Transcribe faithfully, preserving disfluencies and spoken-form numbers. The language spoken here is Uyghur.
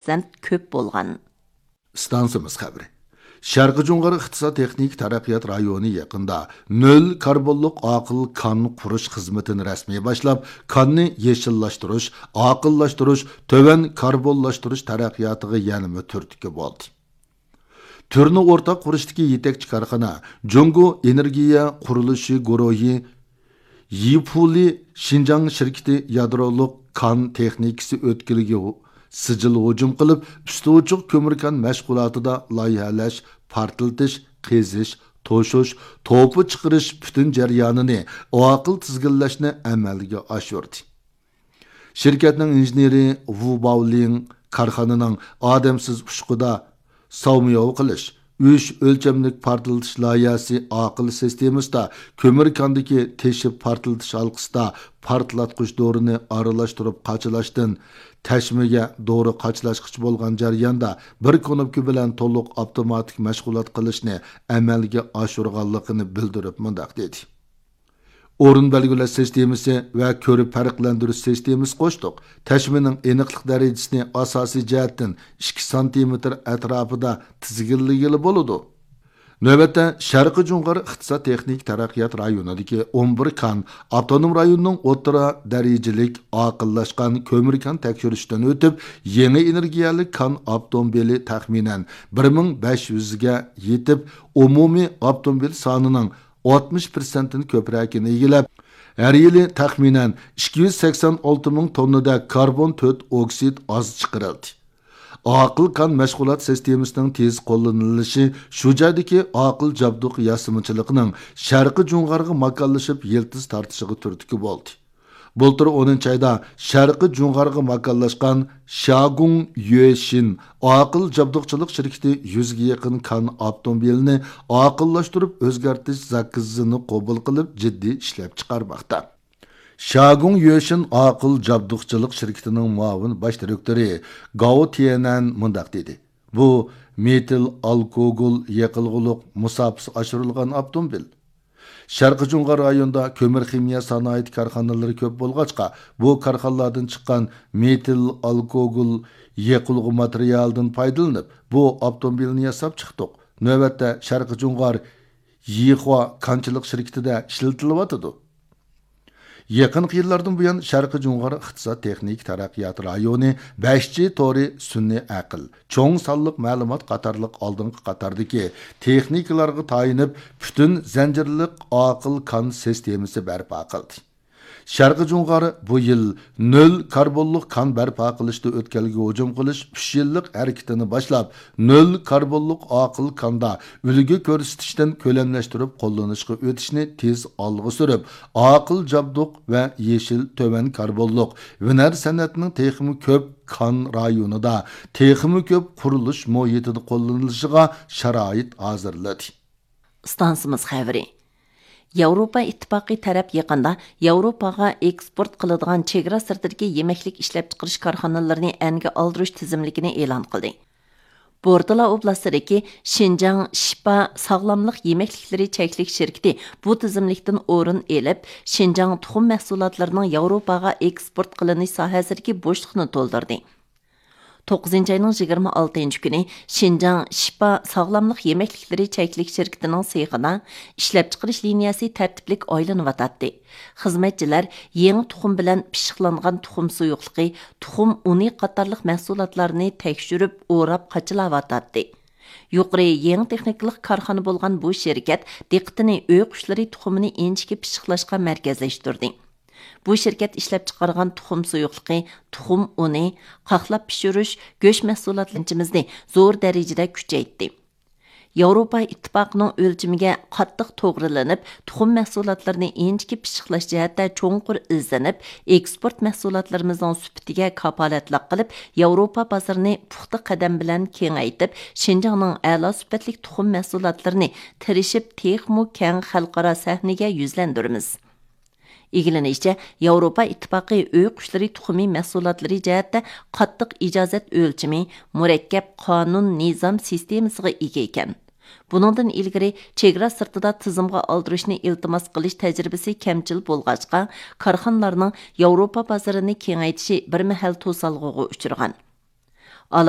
پىرسەنت كۆپ بولغان. ئىستانسىمىز خەۋىرى. شەرقىي جۇڭغار ئىقتىساد تېخنىكا تەرەققىيات رايونى يېقىندا نۆل كاربونلۇق ئاقىل كان قۇرۇش خىزمىتىنى رەسمىي باشلاپ، كاننى يېشىللاشتۇرۇش، ئاقىللاشتۇرۇش، تۆۋەن كاربونلاشتۇرۇش تەرەققىياتىغا يەنىمۇ تۈرتكە بولدى. تۈرنى ئورتاق قۇرۇشتىكى يېتەكچى كارخانا جۇڭگو ئېنېرگىيە قۇرۇلۇشى گۇرۇھى يىپۇلى شىنجاڭ شىركىتى يادرولۇق كان تېخنىكىسى ئۆتكىلىگە سىجىل ھۇجۇم قىلىپ، ئۈستى ئوچۇق كۆمۈر كان مەشغۇلاتىدا لايىھەلەش، پارتلىتىش، قېزىش، توشۇش، توپا چىقىرىش پۈتۈن جەريانىنى ئاقىل تىزگىنلەشنى ئەمەلگە ئاشۇردى. شىركەتنىڭ ئىنژېنېرى ۋۇ باۋلىڭ كارخانىنىڭ ئادەمسىز ئۇچقۇدا ساۋمىياۋ قىلىش، ئۈچ ئۆلچەملىك پارتلىتىش لايىھەسى ئاقىل سىستېمىسىدا كۆمۈر كاندىكى تېشىپ پارتلىتىش ھالقىسىدا پارتلاتقۇچ دورىنى ئارىلاشتۇرۇپ قاچىلاشتىن تەشمىگە دورا قاچىلاشقىچە بولغان جەرياندا بىر كۇنۇپكا بىلەن تولۇق ئاپتوماتىك مەشغۇلات قىلىشنى ئەمەلگە ئاشۇرغانلىقىنى بىلدۈرۈپ مۇنداق دېدى. ئورۇن بەلگىلەش سىستېمىسى ۋە كۆرۈپ پەرقلەندۈرۈش سىستېمىسى قوشتۇق. تەشمىنىڭ ئېنىقلىق دەرىجىسىنى ئاساسىي جەھەتتىن ئىككى سانتىمېتىر ئەتراپىدا تىزگىنلىگىلى بولىدۇ. نۆۋەتتە شەرقىي جۇڭغار ئىقتىساد تېخنىكا تەرەققىيات رايونىدىكى ئون بىر كان ئاپتونوم رايوننىڭ ئوتتۇرا دەرىجىلىك ئاقىللاشقان كۆمۈر كان تەكشۈرۈشتىن ئۆتۈپ، يېڭى ئېنېرگىيەلىك كان ئاپتوموبىلى تەخمىنەن بىر مىڭ بەش يۈزگە يېتىپ، ئومۇمىي ئاپتوموبىل سانىنىڭ ئاتمىش پىرسەنتتىن كۆپرەكىنى ئىگىلەپ، ھەر يىلى تەخمىنەن ئىككى يۈز سەكسەن ئالتە مىڭ توننىدەك كاربون تۆت ئوكسىد ئاز چىقىرىلدى. ئاقىل كان مەشغۇلات سىستېمىسىنىڭ تېز قوللىنىلىشى شۇ جايدىكى ئاقىل جابدۇق ياسىمىچىلىقىنىڭ شەرقىي جۇڭغارغا ماكانلىشىپ يىلتىز تارتىشىغا تۈرتكە بولدى. بۇلتۇر ئونىنچى ئايدا شەرقىي جۇڭغارغا ماكانلاشقان شياگۇڭ يۈەشىن ئاقىل جابدۇقچىلىق شىركىتى يۈزگە يېقىن كان ئاپتوموبىلىنى ئاقىللاشتۇرۇپ ئۆزگەرتىش زاكىزىنى قوبۇل قىلىپ، جىددىي ئىشلەپچىقارماقتا. شياگۇڭ يۈەشىن ئاقىل جابدۇقچىلىق شىركىتىنىڭ مۇئاۋىن باش دىرېكتورى گاۋ تيەنەن مۇنداق دېدى: بۇ مېتىل ئالكوگول يېقىلغۇلۇق مۇساپىسى ئاشۇرۇلغان ئاپتوموبىل. شەرقىي جۇڭغار رايونىدا كۆمۈر خىمىيە سانائىتى كارخانىلىرى كۆپ بولغاچقا، بۇ كارخانىلاردىن چىققان مېتىل ئالكوگول يېقىلغۇ ماتېرىيالىدىن پايدىلىنىپ، بۇ ئاپتوموبىلنى ياساپ چىقتۇق. نۆۋەتتە شەرقىي جۇڭغار يىخۇا كانچىلىق شىركىتىدە ئىشلىتىلىۋاتىدۇ. يېقىنقى يىللاردىن بۇيان، شەرقىي جۇڭغار ئىقتىساد تېخنىكا تەرەققىيات رايونى بەش جى تورى، سۈنئىي ئەقىل، چوڭ سانلىق مەلۇمات قاتارلىق ئالدىنقى قاتاردىكى تېخنىكىلارغا تايىنىپ، پۈتۈن زەنجىرلىق ئاقىل كان سىستېمىسى بەرپا قىلدى. شەرقىي جۇڭغار بۇ يىل نۆل كاربونلۇق كان بەرپا قىلىشتا ئۆتكەلگە ھۇجۇم قىلىش ئۈچ يىللىق ھەرىكىتىنى باشلاپ، نۆل كاربونلۇق ئاقىل كاندا ئۈلگە كۆرسىتىشتىن كۆلەملەشتۈرۈپ قوللىنىشقا ئۆتۈشنى تېز ئالغا سۈرۈپ، ئاقىل جابدۇق ۋە يېشىل تۆۋەن كاربونلۇق ھۈنەر سەنئەتنىڭ تېخىمۇ كۆپ كان رايونىدا، تېخىمۇ كۆپ قۇرۇلۇش مۇھىتىدا قوللىنىلىشىغا شارائىت ھازىرلىدى. ئىستانسىمىز خەۋىرى. ياۋروپا ئىتتىپاقى تەرەپ يېقىندا ياۋروپاغا ئېكسپورت قىلىدىغان چېگرا سىرتىدىكى يېمەكلىك ئىشلەپچىقىرىش كارخانىلىرىنى ئەنگە ئالدۇرۇش تىزىملىكىنى ئېلان قىلدى. بوردىلا ئوبلاستىدىكى شىنجاڭ شىپا ساغلاملىق يېمەكلىكلىرى چەكلىك شىركىتى بۇ تىزىملىكتىن ئورۇن ئېلىپ، شىنجاڭ تۇخۇم مەھسۇلاتلىرىنىڭ ياۋروپاغا ئېكسپورت قىلىنىش ساھەسىدىكى بوشلۇقنى تولدۇردى. توققۇزىنچى ئاينىڭ يىگىرمە ئالتىنچى كۈنى شىنجاڭ شىپا ساغلاملىق يېمەكلىكلىرى چەكلىك شىركىتىنىڭ سېخىدا ئىشلەپچىقىرىش لىنىيەسى تەرتىپلىك ئايلىنىۋاتاتتى. خىزمەتچىلەر يېڭى تۇخۇم بىلەن پىششىقلانغان تۇخۇم سۇيۇقلۇقى، تۇخۇم ئۇنى قاتارلىق مەھسۇلاتلارنى تەكشۈرۈپ، ئوراپ قاچىلاۋاتاتتى. يۇقىرى يېڭى تېخنىكىلىق كارخانا بولغان بۇ شىركەت دىققىتىنى ئۆي قۇشلىرى تۇخۇمىنى ئىنچىكە پىششىقلاشقا مەركەزلەشتۈردى. بۇ شىركەت ئىشلەپچىقارغان تۇخۇم سۇيۇقلۇقى، تۇخۇم ئۇنى، قاقلاپ پىشۇرۇش، گۆش مەھسۇلاتلىرىمىزنى زور دەرىجىدە كۈچەيتتى. ياۋروپا ئىتتىپاقىنىڭ ئۆلچىمىگە قاتتىق توغرىلىنىپ، تۇخۇم مەھسۇلاتلىرىنى ئىنچىكە پىششىقلاش جەھەتتە چوڭقۇر ئىزدىنىپ، ئېكسپورت مەھسۇلاتلىرىمىزنىڭ سۈپىتىگە كاپالەتلىك قىلىپ، ياۋروپا بازىرىنى پۇختا قەدەم بىلەن كېڭەيتىپ، شىنجاڭنىڭ ئەلا سۈپەتلىك تۇخۇم مەھسۇلاتلىرىنى تىرىشىپ تېخىمۇ كەڭ خەلقئارا سەھنىگە يۈزلەندۈرىمىز. ئىگىلىنىشىچە، ياۋروپا ئىتتىپاقى ئۆي قۇشلىرى تۇخۇمى مەھسۇلاتلىرى جەھەتتە قاتتىق ئىجازەت ئۆلچىمى، مۇرەككەپ قانۇن نىزام سىستېمىسىغا ئىگە ئىكەن. بۇنىڭدىن ئىلگىرى، چېگرا سىرتىدا تىزىمغا ئالدۇرۇشنى ئىلتىماس قىلىش تەجرىبىسى كەمچىل بولغاچقا، كارخانىلارنىڭ ياۋروپا بازىرىنى كېڭەيتىشى بىر مەھەل توسالغۇغا ئۇچرىغان. ئالا